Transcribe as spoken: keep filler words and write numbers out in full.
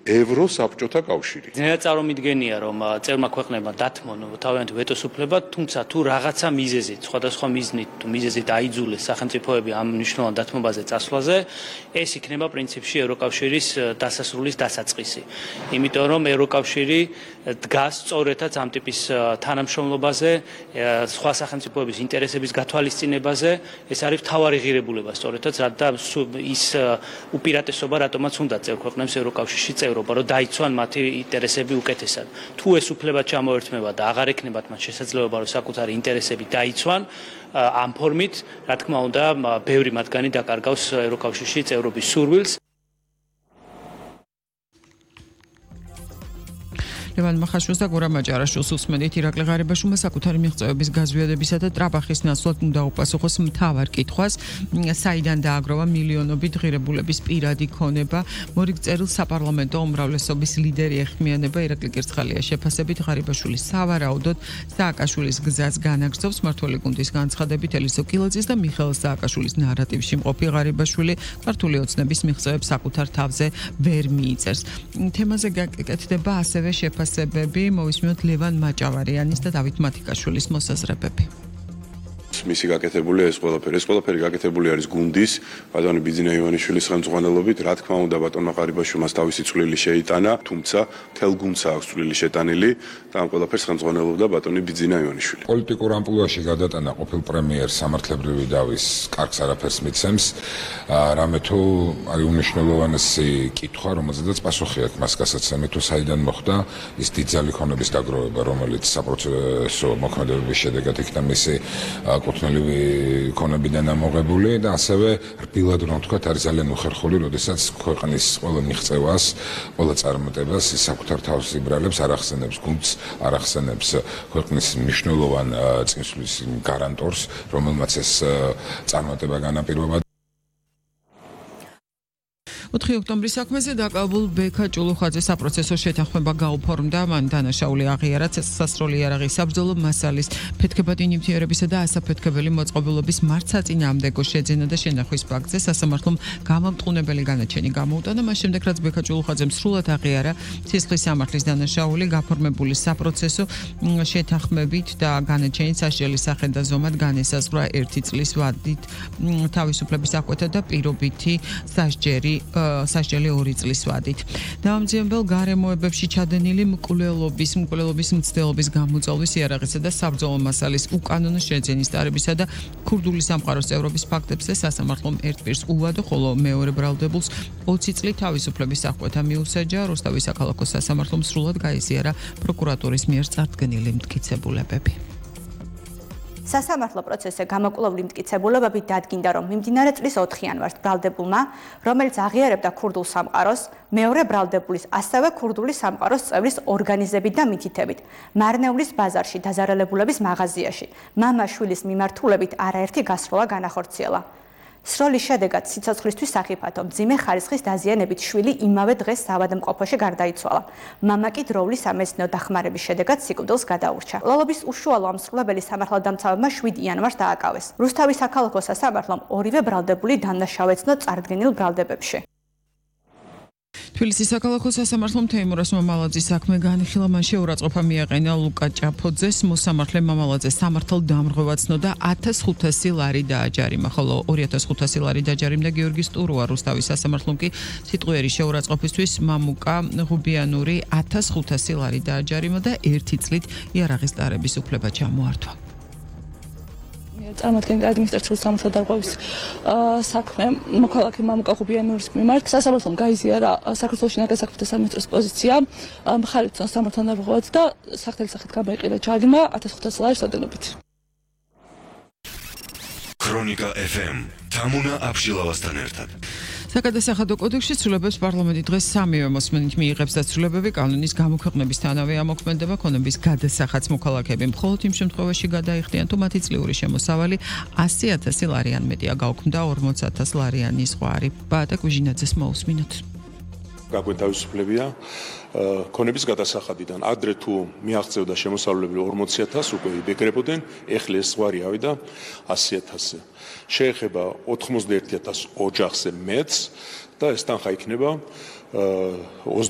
ევროსაბჭოთა კავშირი. ძნელად წარმომიდგენია, რომ წევრმა ქვეყნებმა დათმონ თავიანთი ვეტოს უფლება, თუმცა თუ რაღაცა მიზეზით, სხვადასხვა მიზნით თუ მიზეზით აიძულეს სახელმწიფოები ამ მნიშვნელოვან დათმობაზე წასვლაზე, ეს იქნება პრინციპში ევროკავშირის დასასრულის დასაწყისი. იმიტომ რომ ევროკავშირი დგას სწორედაც ამ ტიპის თანამშრომლობაზე, სხვა სახელმწიფოების ინტერესების გათვალისწინებაზე, ეს არის მთავარი ღირებულება სწორედაც, რადგან ის უპირატესობა რატომაც უნდა წევრ ქვეყნებს ევროკავშირში წევრობა, რომ დაიცვან მათი ინტერესები უკეთესად. თუ ეს უფლება ჩამოერთმება და აღარ ექნებათ მათ შესაძლებლობა, რომ საკუთარი ინტერესები დაიცვან ამ ფორმით, რა თქმა უნდა, ბევრი მათგანი დაკარგავს ევროკავშირში წევრობის სურვილს. ლევან მახაშვილს და გორა მაჭარაშვილს უსმენთ. ირაკლი ღარიბაშვილმა საკუთარი მიღწევების გაზვიადებისა და ტრაბახის ნაცვლად უნდა უპასუხოს მთავარ კითხვას, საიდან დააგროვა მილიონობით ღირებულების პირადი ქონება. მორიგ წერილს საპარლამენტო უმრავლესობის ლიდერი ეხმიანება. ირაკლი კირცხალია შეფასებით ღარიბაშვილის სავარაუდოდ სააკაშვილის გზას განაგრძობს. მმართველი გუნდის განცხადებით ელისო კილაძის და მიხეილ სააკაშვილის ნარატივში მყოფი ღარიბაშვილი ქართული ოცნების მიღწევებს საკუთარ თავზე ვერ მიიწერს. თემაზე გაკეთდება ასევე შეფასება მოვისმინოთ ლევან მაჭავარიანის და დავით მათიკაშვილის მოსაზრებები. მისი გაკეთებული ეს ყველაფერი, ეს ყველაფერი გაკეთებული არის გუნდის, ბატონი ბიძინა ივანიშვილის ხელმძღვანელობით, რა თქმა უნდა ბატონმა ღარიბაშვილმა თავისი წვლილი შეიტანა, თუმცა მთელ გუნდს აქვს წვლილი შეტანილი და ამ ყველაფერს ხელმძღვანელობდა ბატონი ბიძინა ივანიშვილი. პოლიტიკურ ამპლუაში გადატანა ყოფილ პრემიერს სამართლებრივი დავის კარგს არაფერს მიცემს, რამე თუ არის უნიშნელოვანესი კითხვა, რომელზედაც პასუხი აქვს მას გასაცემით, თუ საიდან მოხდა ის დიდძალი ქონების დაგროვება, რომელიც საპროცესო მოქმედებების შედეგად იქნა მისი კუთვნილივი ქონებიდან ამოღებული და ასევე რბილად რომ თქვა არის ძალიან უხერხული, როდესაც ქვეყნის ყველა მიღწევას, ყველა წარმატებას საკუთარ თავს იბრალებს, არ ახსენებს გუნდს, არ ახსენებს ქვეყნის მნიშვნელოვან წინსვლის გარანტორს, რომელმაც ეს წარმატება განაპირობა. ოთხი ოქტომბრის საქმეზე დაკავებულ ბექა ჭულუხაძე საპროცესო შეთანხმება გაუფორმდა, მან დანაშაული აღიარა ცეცხლსასროლი იარაღის საბრძოლო მასალის ფეთქებადი ნივთიერებისა და ასაფეთქებელი მოწყობილობის მართსაწინააღმდეგო შეძენა და შენახვის ფაქტზე სასამართლომ გამამტყუნებელი განაჩენი გამოუტანა, მას შემდეგ რაც ბექა ჭულუხაძემ სრულად აღიარა ცეცხლის სამართლის დანაშაული გაფორმებული საპროცესო შეთანხმებით და განაჩენი სასჯელის სახით და ზომად განესაზღვრა ერთი წლის ვადით თავისუფლების აღკვეთა და პირობითი სასჯელი სასჯელი ორი წლის ვადით. დამამძიმებელ გარემოებებში ჩადენილი მკვლელობის, მკვლელობის მცდელობის გამოწვევის იარაღისა და საბრძოლო მასალის უკანონო შეძენის დარებისა და ქურდული სამყაროს წევრობის ფაქტებზე სასამართლომ ერთ პირს უვადო, ხოლო მეორე ბრალდებულს ოცი წლით თავისუფლების აღკვეთა მიუსაჯა. როსტავის საქალაქო სასამართლომ სრულად გაიზიარა პროკურატურის მიერ წარდგენილი მტკიცებულებები. სასამართლო პროცესზე გამოკვლეული მტკიცებულებები დადგინდა, რომ მიმდინარე წლის ოთხი იანვარს ბრალდებულმა, რომელიც აღიარებდა ქურდულ სამყაროს, მეორე ბრალდებულის, ასევე ქურდული სამყაროს წევრის ორგანიზებით და მითითებით, მარნეულის ბაზარში დაზარალებულების მაღაზიაში, მამაშვილის მიმართულებით არაერთი გასროლა განახორციელა. სროლის შედეგად სიცოცხლისთვის სახიფათო მძიმე ხარისხის დაზიანებით შვილი იმავე დღეს საავადმყოფოში გარდაიცვალა. მამა კი დროულის სამეცნიერო დახმარების შედეგად სიკვდილს გადაურჩა. ლოლობის უშუალო ამსრულებელი სამართალდამცავებმა შვიდი იანვარს დააკავეს. რუსთავის საქალაქო სასამართლომ ორივე ბრალდებული დანაშაუეცნო წარდგენილ ბრალდებებში. თბილისის საქალაქო სასამართლომ თეიმურას მამალაძის საქმე განიხილა, მან შეურაცხყოფა მიაყენა ლუკა ჭაფოძეს, მოსამართლე მამალაძეს სამართალ დამრღვევა ცნოდა ათას ხუთასი ლარი დააჯარიმა, ხოლო ორი ათას ხუთასი ლარი დაჯარიმდა გიორგი სტურუა. რუსთავის სასამართლომ კი სიტყვიერი შეურაცხყოფისთვის მამუკა ღუბიანური ათას ხუთასი ლარი დააჯარიმა და ერთი წლით იარაღის დარების უფლება ჩამოართვა. წარმოადგენდა ადმინისტრაციული სამართალ დარღვევის საქმე მოქალაქე მამუკა ღუბიანურის მიმართ. სასამართლომ გაიზიარა საქართველოს შინაგან საქმეთა სამინისტროს პოზიცია, მხარი ცნობს სამართალ დარღვევას და სახთელი სახით გამოიყენა ჯარიმა ათას ხუთასი ლარის ოდენობით. ქრონიკა ეფ ემ თამუნა აბშილავასთან ერთად. საკადასახადო კოდექსში ცვლილებებს პარლამენტი დღეს სამივე მოსმენით მიიღებს და ცვლილებები კანონის გამოქვეყნებისთანავე ამოქმედება ქონების გადასახადს მოქალაქეები მხოლოდ იმ შემთხვევაში გადაიხდიან, თუ მათი წლიური შემოსავალი ასი ათასი ლარიან მეტია, გაუქმდა ორმოც ათას ლარიანი ზღვარი. ბაატა კუჟინაძეს მოусმინოთ. გაგვეთავისუფლებია ქონების გადასახადიდან. ადრე თუ მიაღწევდა შემოსავლებელი ორმოცი ათასი უკვე იბეკრებოდნენ, ეხლა ეს ზღვარი ავიდა ასი ათასზე. შეეხება ოთხმოცდაერთი ათასი ოჯახზე მეც და ეს თანხა იქნება